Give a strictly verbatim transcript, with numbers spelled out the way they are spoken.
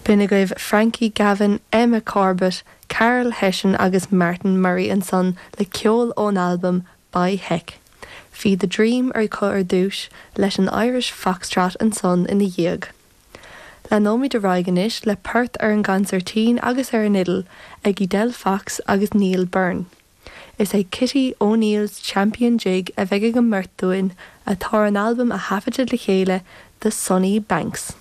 B'in agaibh Frankie Gavin, Emma Corbett, Carol Hession agus Martin Murray ansan le ceol ón albam By Heck. Bhí The Dream ar acu ar dtús leis an Irish Foxtrot ansan ina dhiaidh. Leanfaimid ar aghaidh anois le port ar an gconsairtín agus ar an fhidil ag Edel Fox agus Neil Byrne. Is é Kitty O'Neill's Champion Jig a bheidh ag an mbeirt dúinn atá ar an albam a taifeadadh le chéile The Sunny Banks.